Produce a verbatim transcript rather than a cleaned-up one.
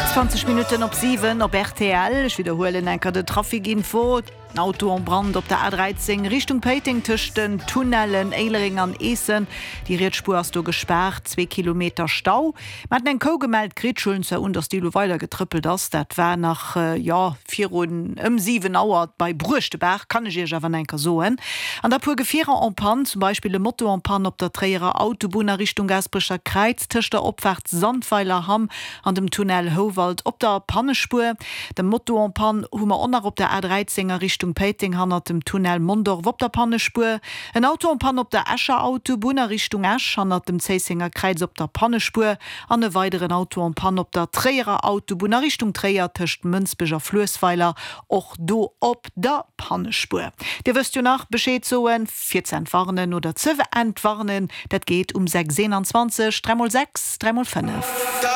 Zwanzeg Minutten op siwen op rtl. Ech widderhuelen eng Kéier de Trafikinfo. En Auto en Brand op der A dräizéng Richtung Péiteng tëscht den Tunnellen Éilereng an Eessen. Déi riets Spuer ass do gespaart, zwee Kilometer Stau. Mer haten eng Kou gemellt kritt, ech huelen zwar un, dass déi elo weider getrëppelt ass. Dat war nach, jo, virun ëm siwen Auer bei Bruechtebaach, kann ech Iech awer nach eng Kéier soen. An da puer Gefierer en panne, zum Beispill e Moto en panne op der Tréierer Autobunn a Richtung Gaasperecher Kräiz tëscht der Opfaart Sandweiler Hamm an dem Tunnel Houwald op der Pannespuer. De Moto en panne hu mer och nach op der A dräizéng a Richtung Péiteng hannert dem Tunnel Mondorf op der Pannespuer. En Auto en panne op der Escher Autobunn a Richtung Esch hannert dem Zéissenger Kräiz op der Pannespuer an e weideren Auto en panne op der Tréierer Autobunn a Richtung Tréier tëscht Mënsbech a Fluessweiler, och do op der Pannespuer. Dir wësst jo nach Bescheed soen, fir ze entwarnen oder ze entwarnen, dat geet um sechs eenanzwanzeg, dräi mol sechs, dräi mol fënnef.